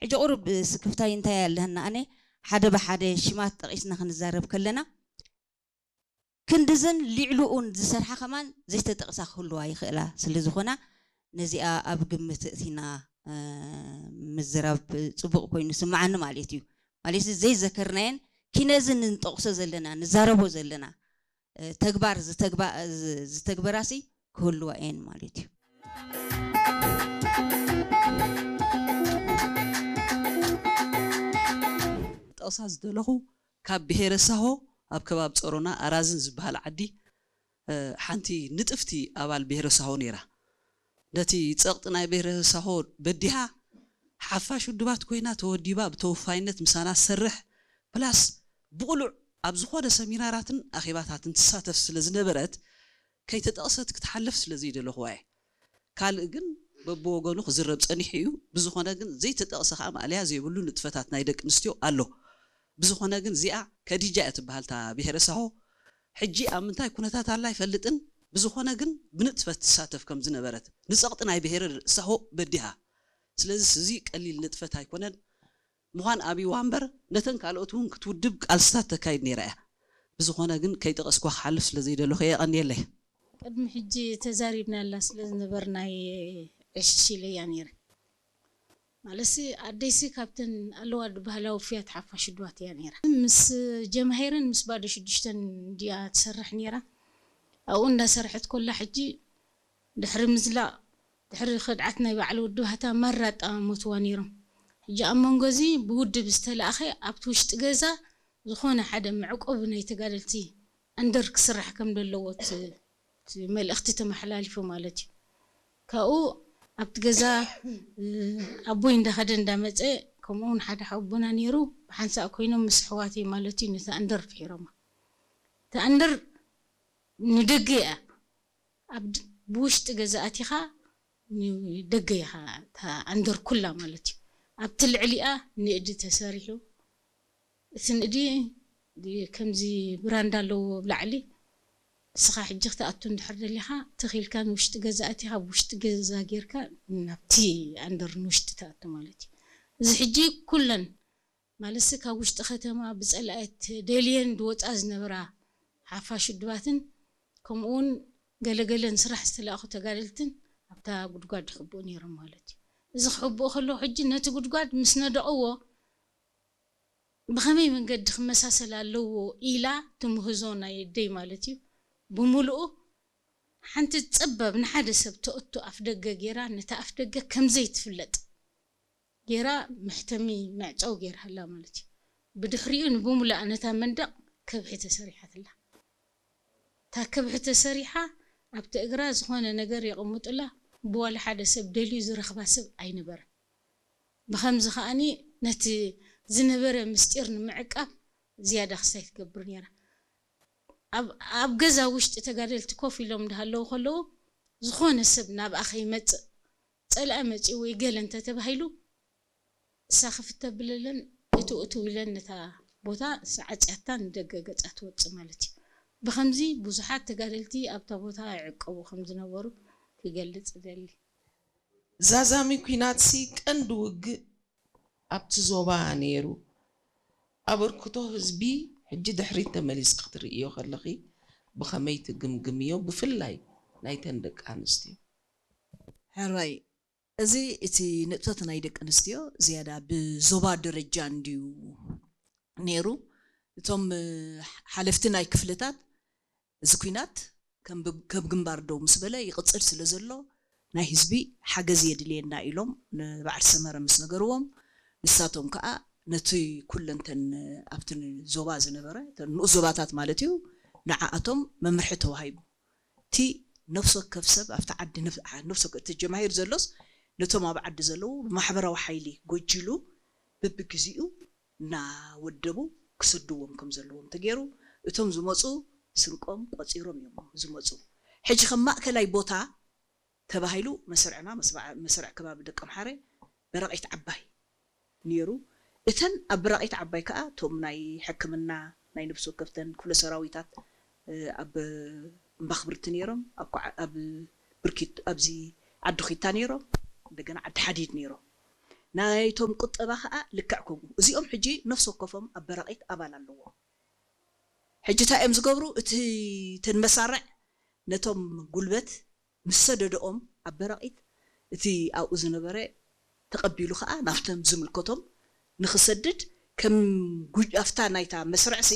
ሕጂ ቁሩብ ስክፍታይ እንታይ ኣለና? ኣነ ሓደ ብሓደ ሽማት ጠቒስና ክንዛረብ ከለና ክንድዝን ሊዕሉኡን ዝሰርሓ ከማን ዘይተጠቕሳ ክህልዋ ይኽእላ። ስለ ዝኾና ነዚኣ ኣብ ግምት እቲና ምዝራብ ጽቡቕ ኮይኑ ስምዓኒ ማለት እዩ። ማለት ዘይዘከርናየን ኪነዚ ንጠቕሶ ዘለና ንዛረቦ ዘለና ተግባር ዝተግበራሲ ክህልዋ እየን ማለት እዩ። ጠቕሳ ዝደለኹ ካብ ብሄረ ሳሆ ኣብ ከባቢ ጸሮና ኣራዝን ዝበሃል ዓዲ ሓንቲ ንጥፍቲ ኣባል ብሄረ ሳሆ ነይራ። ነቲ ጸቕጢ ናይ ብሄረ ሳሆ በዲሃ ሓፋሽ ውድባት ኮይና ተወዲባ ብተወፋይነት ምሳና ትሰርሕ ፕላስ ብቕሉዕ ኣብ ዝኾነ ሰሚናራትን ኣኼባታትን ትሳተፍ ስለ ዝነበረት ከይተጠቕሰት ክትሓልፍ ስለ ዘይደለኹዋ እየ። ካልእ ግን በብወገኑ ክዝረብ ጸኒሑ እዩ። ብዝኾነ ግን ዘይተጠቕሰ ከኣ ማእለያ ዘይብሉ ንጥፈታት ናይ ደቂ ኣንስትዮ ኣሎ። ብዝኾነ ግን እዚኣ ከዲጃ እያ ትበሃል እታ ብሄረ ሳሆ። ሕጂ ኣብ ምንታይ ኩነታት ኣላ ኣይፈልጥን። ብዝኾነ ግን ብንጥፈት ትሳተፍ ከም ዝነበረት ንጸቕጢ ናይ ብሄረ ሳሆ በዲሃ። ስለዚ እዚ ቀሊል ንጥፈት ኣይኮነን። ምዃን ኣብይዋ እምበር ነተን ካልኦት እውን ክትውድብ ቃልስታት ተካይድ ነይራ እያ። ብዝኾነ ግን ከይጠቐስኳ ክሓልፍ ስለ ዘይደለኹ እየ። የቐንየለይ። ቅድሚ ሕጂ ተዛሪብናላ ስለ ዝነበርና እየ ዕሽሽ ኢለያ ነይረ። ማለትሲ ኣደይሲ ካብተን ኣለዋ ዝበሃላ ውፉያት ሓፋሽ ውድባት እያ ነይራ። ምስ ጀምሃይርን ምስ ባዶ ሽዱሽተን እንድያ ትሰርሕ ነይራ። ኣብኡ እንዳሰርሐት ኮላ ሕጂ ድሕሪ ምዝላቕ ድሕሪ ከድዓት ናይ በዓል ወዲ ባህታ ማራ ኣጠማመትዋ ነይሮም። ሕጂ ኣብ መንጎ እዚ ብውድብ ዝተላእኸ ኣብቲ ውሽጢ ገዛ ዝኾነ ሓደ መዕቆቢ ናይ ተጋደልቲ ኣንደር ክስራሕ ከም ዘለዎ እቲ እቲ መልእኽቲ ተመሓላሊፉ ማለት እዩ። ካብኡ ኣብቲ ገዛ ኣቦይ እንዳኸደ እንዳመፀ ከምኡ እውን ሓደ ሓወቦና ነይሩ ብሓንሳእ ኮይኖም ምስ ኣሕዋተይ ማለት እዩ ነቲ ኣንደር ፍሒሮማ። እታ ኣንደር ንደገ እያ ኣብ ብውሽጢ ገዛ ኣቲኻ ንደገ ኢኻ እታ ኣንደር ኩላ ማለት እዩ። ኣብቲ ልዕሊኣ ንእዲ ተሰሪሑ እቲ ንእዲ ከምዚ ብራንዳ ኣለዎ ኣብ ላዕሊ ንስኻ ሕጂ ክትኣቱ እንድሕር ደሊኻ ትኽ ኢልካ ንውሽጢ ገዛ ኣቲኻ ብውሽጢ ገዛ ጌርካ ናብቲ ኣንደር ንውሽጢ ትኣቱ ማለት እዩ። እዚ ሕጂ ኩለን ማለትሲ ካብ ውሽጢ ከተማ ብፀላእት ደልየን ዝወፃ ዝነበራ ሓፋሽ ውድባትን ከምኡ እውን ገለገለ ንስራሕ ዝተላእኹ ተጋደልትን ኣብታ ጉድጓድ ይሕብኡ ነይሮም ማለት እዩ። እዚ ክሕብኡ ከለዉ ሕጂ ነቲ ጉድጓድ ምስ ነደቕዎ ብኸመይ መንገዲ ክመሳሰል ኣለዎ ኢላ ትምህዞ ናይ ኣደይ ማለት እዩ ብምሉኡ ሓንቲ ፀባብ ንሓደ ሰብ ተእቱ ኣፍደገ ገይራ ነታ ኣፍደገ ከምዘይትፍለጥ ገይራ መሕተሚ መዕፀዊ ገይራላ ማለት እዩ። ብድሕሪኡ ንብሙላኣ ነታ መንደቕ ከብሒ ተሰሪሓትላ። እታ ከብሒ ተሰሪሓ ኣብቲ እግራ ዝኾነ ነገር የቐምጡላ ብዋላ ሓደ ሰብ ደልዩ ዝረኽባ ሰብ ኣይነበረን። ብኸምዚ ከኣኒ ነቲ ዝነበረ ምስጢር ንምዕቃብ ዝያዳ ክስታይ ትገብር ነይራ። ኣብ ገዛ ውሽጢ ተጋደልቲ ኮፍ ኢሎም እንዳሃለዉ ከለዉ ዝኾነ ሰብ ናብኣ ከይመፅእ ፀላኢ መፂኡ ወይ ገለ እንተተባሂሉ እሳ ክፍት ተብለለን እትው እትው ኢለን ነታ ቦታ ዓፅያታ ንደገ ገፃ ትወፅእ ማለት እዩ። ብኸምዚ ብዙሓት ተጋደልቲ ኣብታ ቦታ ይዕቀቡ ከም ዝነበሩ ክገልፅ እደሊ። ዛዛሚ ኲናትሲ ቀንዲ ውግእ ኣብቲ ዞባ ነይሩ። ኣበርክቶ ህዝቢ ሕጂ ድሕሪት ተመሊስኪ ክትርእዮ ከለኺ ብኸመይ ትግምግምዮ ብፍላይ ናይተን ደቂ ኣንስትዮ? ሕራይ እዚ እቲ ንጥፈት ናይ ደቂ ኣንስትዮ ዝያዳ ብዞባ ደረጃ እንድዩ ነይሩ። እቶም ሓለፍቲ ናይ ክፍልታት እዚ ኲናት ከም ግንባር ደው ምስ በለ ይቕፅል ስለ ዘሎ ናይ ህዝቢ ሓገዝ የድልየና ኢሎም ንበዓል ሰመረ ምስ ነገርዎም ንሳቶም ከዓ ነቲ ኩለንተን ኣብቲ ዞባ ዝነበረ ንኡስ ዞባታት ማለት እዩ ንዓኣቶም መምርሒ ተዋሂቡ። እቲ ነፍሲ ወከፍ ሰብ ኣብቲ ዓዲ ነፍሲ ወከፍ እቲ ጀማሂር ዘሎስ ነቶም ኣብ ዓዲ ዘለዉ ብማሕበራዊ ሓይሊ ጎጂሉ በብግዚኡ እናወደቡ ክሰድዎም ከም ዘለዎም ተገይሩ እቶም ዝመፁ ስንቆም ቆፂሮም እዮም ዝመፁ። ሕጂ ከም ማእከላይ ቦታ ተባሂሉ መስርዕና መስርዕ ከባቢ ደቀምሓረ በረቒት ዓባይ ነይሩ። እተን ኣብ ብራቒት ዓባይ ከኣ እቶም ናይ ሕክምና ናይ ነብሲ ወከፍተን ክፍለ ሰራዊታት ኣብ እምባኽብርቲ ነይሮም፣ ኣብ ብርኪት ኣብዚ ዓዲ ኺታ ነይሮም፣ እንደገና ዓዲ ሓዲድ ነይሮም። ናይቶም ቁጠባ ከዓ ልክዕ ከምኡ። እዚኦም ሕጂ ነፍሲ ወከፎም ኣብ በራቒት ኣባል ኣለዎም። ሕጂ እንታይ እዮም ዝገብሩ? እቲ ተን መሳርዕ ነቶም ጉልበት ምስ ሰደደኦም ኣብ በራቒት እቲ ኣብኡ ዝነበረ ተቐቢሉ ከዓ ናብቶም ዝምልከቶም ንኽሰድድ ከም ጉጅ-፣ ኣብታ ናይታ መስርዕሲ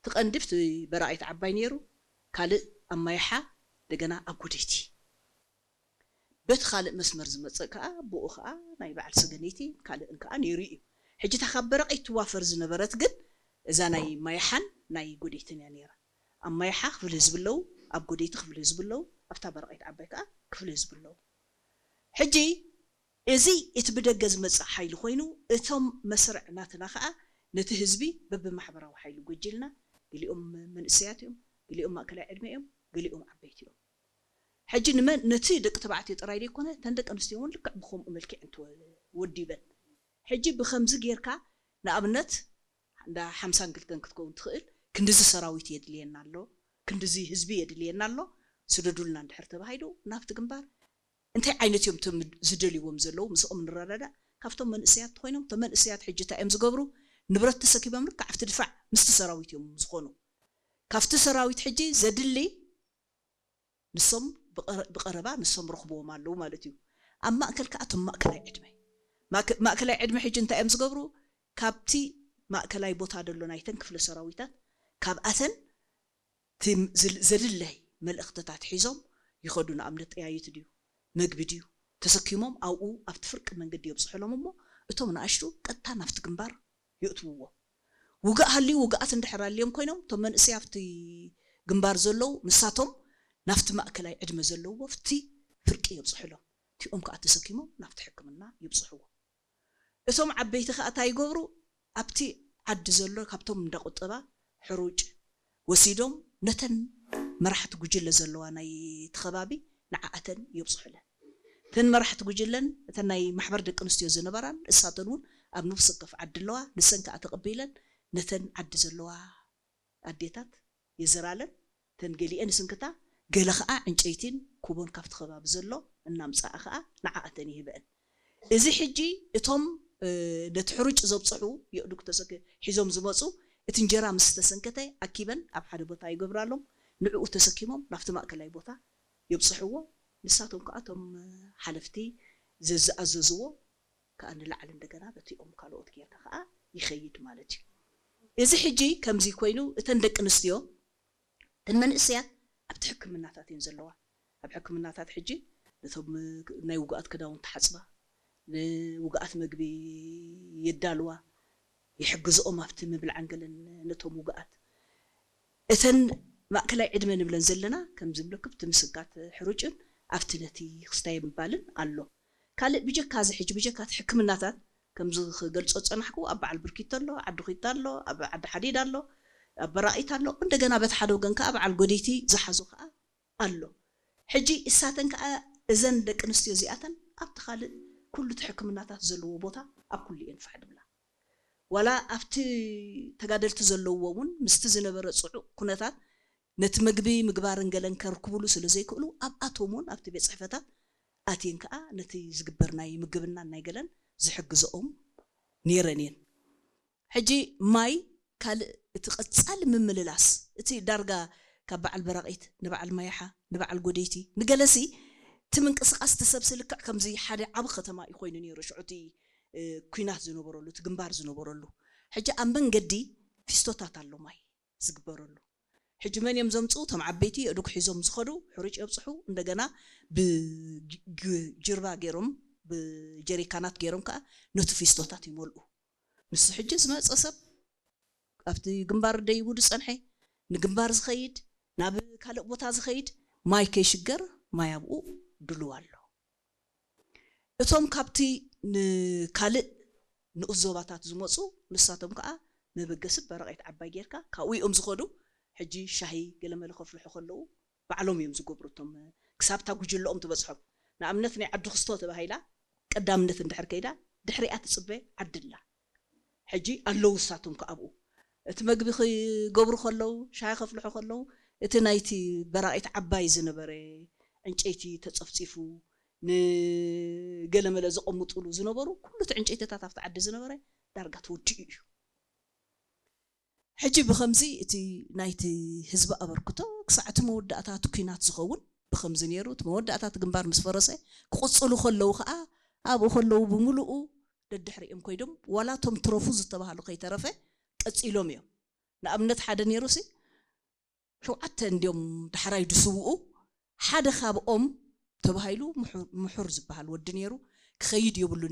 ትቐንዲ ብቲ በራቒት ዓባይ ነይሩ፣ ካልእ ኣብ ማይሓ፣ እንደገና ኣብ ጎደይቲ። በቲ ካልእ መስመር ዝመጽእ ከኣ ብኡ ከኣ ናይ በዓል ሰገነይቲ ካልእን ከኣ ነይሩ እዩ። ሕጂ እታ ካብ በራቒት ትዋፈር ዝነበረት ግን እዛ ናይ ማይሓን ናይ ጎደይትን እያ ነይራ። ኣብ ማይሓ ክፍሊ ህዝቢ ኣለዉ፣ ኣብ ጎደይቲ ክፍሊ ህዝቢ ኣለዉ፣ ኣብታ በራቒት ዓባይ ከኣ ክፍሊ ህዝቢ ኣለዉ። ሕጂ እዚ እቲ ብደገ ዝመጽእ ሓይሊ ኮይኑ፣ እቶም መስርዕ ናትና ከኣ ነቲ ህዝቢ በብማሕበራዊ ሓይሊ ጎጂልና፣ ገሊኦም መንእሰያት እዮም፣ ገሊኦም ማእከላይ ዕድመ እዮም፣ ገሊኦም ዓበይቲ እዮም። ሕጂ ንመን፣ ነቲ ደቂ ተባዕትዮ ጥራይ ዘይኮነ፣ እተን ደቂ ኣንስትዮ እውን ልክዕ ብኸምኡ መልክዕ እንተወዲበን። ሕጂ ብኸምዚ ጌርካ፣ ንኣብነት፣ እንዳ ሓምሳን ክልተን ክትከውን ትኽእል፣ ክንድዚ ሰራዊት የድልየና ኣሎ፣ ክንድዚ ህዝቢ የድልየና ኣሎ፣ ስደዱልና እንድሕር ተባሂሉ፣ ናብቲ ግንባር እንታይ ዓይነት እዮም እቶም ዝደልይዎም ዘለዉ፣ ምስኦም ንረዳዳእ። ካብቶም መንእሰያት ኮይኖም፣ እቶም መንእሰያት ሕጂ እንታይ እዮም ዝገብሩ? ንብረት ተሰኪሞም ልክዕ ኣብቲ ድፋዕ ምስቲ ሰራዊት እዮም ዝኾኑ። ካብቲ ሰራዊት ሕጂ ዘድሊ ንሶም ብቐረ-፣ ብቐረባ ንሶም ረኽብዎም ኣለዉ ማለት እዩ። ኣብ ማእከል ከኣ እቶም ማእከላይ ዕድመ። ማእከ-፣ ማእከላይ ዕድመ ሕጂ እንታይ እዮም ዝገብሩ? ካብቲ ማእከላይ ቦታ ደሎ ናይተን ክፍለ ሰራዊታት፣ ካብኣተን እቲ ዝል-፣ ዘድለይ መልእኽትታት ሒዞም ይኸዱ። ንኣብነት ጠያይት ድዩ፣ መግቢ ድዩ ተሰኪሞም ኣብኡ ኣብቲ ፍርቂ መንገዲ የብጽሑሎም እሞ፣ እቶም ንኣሽቱ ቀጥታ ናብቲ ግንባር የእትውዎ። ውግእ ሃልዩ፣ ውግኣት እንድሕር ኣልዮም ኮይኖም፣ እቶም መንእሰይ ኣብቲ ግንባር ዘለዉ፣ ንሳቶም ናብቲ ማእከላይ ዕድመ ዘለውዎ ኣብቲ ፍርቂ የብጽሑሎም። እቲኦም ከኣ ተሰኪሞም ናብቲ ሕክምና የብጽሕዎ። እቶም ዓበይቲ ከኣ እንታይ ይገብሩ? ኣብቲ ዓዲ ዘሎ ካብቶም እንዳ ቁጠባ ሕሩጭ ወሲዶም ነተን መራሕቲ ጉጅለ ዘለዋ ናይ እቲ ከባቢ ንዓኣተን የብጽሑለን። እተን መራሕቲ ጉጅለን እተን ናይ ማሕበር ደቂ ኣንስትዮ ዝነበራን እሳተን እውን ኣብ ነፍሲ ወከፍ ዓዲ ኣለዋ። ንሰን ከኣ ተቐቢለን ነተን ዓዲ ዘለዋ ኣዴታት የዘራለን። እተን ገሊኤን ይስንክታ፣ ገለ ኸኣ ዕንጨይቲን ኩቦን ካብቲ ከባቢ ዘሎ እናምጽኣ ኸኣ ንዓኣተን ይህበአን። እዚ ሕጂ እቶም፣ እ፣ ነቲ ሕሩጭ ዘብጽሑ የእዱግ ተሰኪ-፣ ሒዞም ዝመጹ፣ እቲ እንጀራ ምስ ተሰንከተ ኣኪበን ኣብ ሓደ ቦታ ይገብራሎም፣ ንዕኡ ተሰኪሞም ናብቲ ማእከላይ ቦታ የብጽሕዎ። ንሳቶም ከኣ እቶም ሓለፍቲ ዘዝኣዘዝዎ ከኣ ንላዕሊ እንደገና በቲኦም ካልኦት ጌርካ ከኣ ይኸይድ ማለት እዩ። እዚ ሕጂ ከምዚ ኮይኑ እተን ደቂ ኣንስትዮ፣ እተን መንእሰያት ኣብቲ ሕክምናታት እየን ዘለዋ። ኣብ ሕክምናታት ሕጂ ነቶም ናይ ውግኣት ክዳውንቲ ሓጽባ፣ ንውግኣት መግቢ የዳልዋ፣ ይሕግዝኦም ኣብቲ ምብልዓን ገለን ነቶም ውግኣት። እተን ማእከላይ ዕድመ ንብለን ዘለና ከም ዝብለኩም እቲ ምስንካት ሕሩጭን ኣብቲ ነቲ ክስታይ ምባልን ኣሎ። ካልእ ብጀካ እዚ ሕጂ ብጀካ እቲ ሕክምናታት ከምዚ ክገልጾ ዝጸናሕኩ ኣብ በዓል ብርኪቶ ኣሎ፣ ዓዲ ኹይታ ኣሎ፣ ኣብ ዓዲ ሓዲድ ኣሎ፣ ኣብ በራቒት ኣሎ። እንደገና በቲ ሓደ ወገን ከኣ በዓል ጎደይቲ ዝሓዞ ከኣ ኣሎ። ሕጂ እሳተን ከኣ እዘን ደቂ ኣንስትዮ እዚኣተን ኣብቲ ካልእ ኩሉ እቲ ሕክምናታት ዘለዎ ቦታ ኣብ ኩሉ እየን ፋሕ ድብላ። ዋላ ኣብቲ ተጋደልቲ ዘለውዎ እውን ምስቲ ዝነበረ ጽዑቕ ኩነታት ነቲ መግቢ ምግባርን ገለን ከርክቡሉ ስለ ዘይክእሉ ኣብኣቶም እውን ኣብቲ ቤት ጽሕፈታት ኣትየን ከኣ ነቲ ዝግበር ናይ ምግብናን ናይ ገለን ዝሕግዝኦም ነይረን እየን። ሕጂ ማይ ካልእ እቲ ቀጻሊ ምምልላስ፣ እቲ ዳርጋ ካብ በዓል በራቒት ንበዓል ማያሓ ንበዓል ጎደይቲ ንገለሲ እቲ ምንቅስቓስ እቲ ሰብሲ ልክዕ ከምዚ ሓደ ዓቢ ከተማ እዩ ኮይኑ ነይሩ። ሽዑ እቲ፣ እ፣ ኲናት ዝነበረሉ፣ እቲ ግንባር ዝነበረሉ። ሕጂ ኣብ መንገዲ ፊስቶታት ኣሎ ማይ ዝግበረሉ። ሕጂ መን እዮም ዘምጽኡ? እቶም ዓበይቲ የእዱግ ሒዞም ዝኸዱ ሕሩጭ የብጽሑ፣ እንደገና ብጅ-፣ ግ-፣ ጅርባ ገይሮም፣ ብጀሪካናት ገይሮም ከኣ ነቲ ፊስቶታት ይመልኡ። ንሱ ሕጂ ዝመጸ ሰብ ኣብቲ ግንባር ደይቡ ዝጸንሐ፣ ንግንባር ዝኸይድ፣ ናብ ካልእ ቦታ ዝኸይድ፣ ማይ ከይሽገር ማይ ኣብኡ ድሉው ኣሎ። እቶም ካብቲ ንካልእ ንኡስ ዞባታት ዝመጹ፣ ንሳቶም ከኣ መበገሲ በረቐት ዓባይ ጌርካ ካብኡ እዮም ዝኸዱ። ሕጂ ሻሂ ገለመለ ከፍልሑ ከለዉ ባዕሎም እዮም ዝገብሩ። እቶም ክሳብ እታ ጉጅለኦም ትበጽሖም። ንኣብነት ናይ ዓዲ ክስቶ ተባሂላ ቀዳምነት እንድሕር ከይዳ ድሕሪኣ ትጽበ ዓዲ ኣላ። ሕጂ ኣለዉ እሳቶም ከኣ ኣብኡ። እቲ መግቢ ክገብሩ ከለዉ፣ ሻሂ ከፍልሑ ከለዉ፣ እቲ ናይቲ በራቒት ዓባይ ዝነበረ ዕንጨይቲ ተጸፍጺፉ፣ ንገለመለ ዘቐምጡሉ ዝነበሩ ኩሉ እቲ ዕንጨይትታት ኣብቲ ዓዲ ዝነበረ ዳርጋ ተወዲኡ እዩ። ሕጂ ብኸምዚ እቲ ናይቲ ህዝቢ ኣበርክቶ ክሳዕ እቲ መወዳእታ እቲ ኲናት ዝኸውን ብኸምዚ ነይሩ። እቲ መወዳእታ እቲ ግንባር ምስ ፈረሰ ክቕጽሉ ከለዉ ከዓ ኣብኡ ከለዉ ብምሉኡ ደድሕሪኦም ኮይዶም ዋላ እቶም ትረፉ ዝተባሃሉ ከይተረፈ ቀጺሎም እዮም። ንኣብነት ሓደ ነይሩ ሲ ሸውዓተ እንዲዮም ዳሕራይ ድስውኡ ሓደ ካብኦም ተባሂሉ ምሑር ዝበሃል ወዲ ነይሩ ክኸይድ የብሉን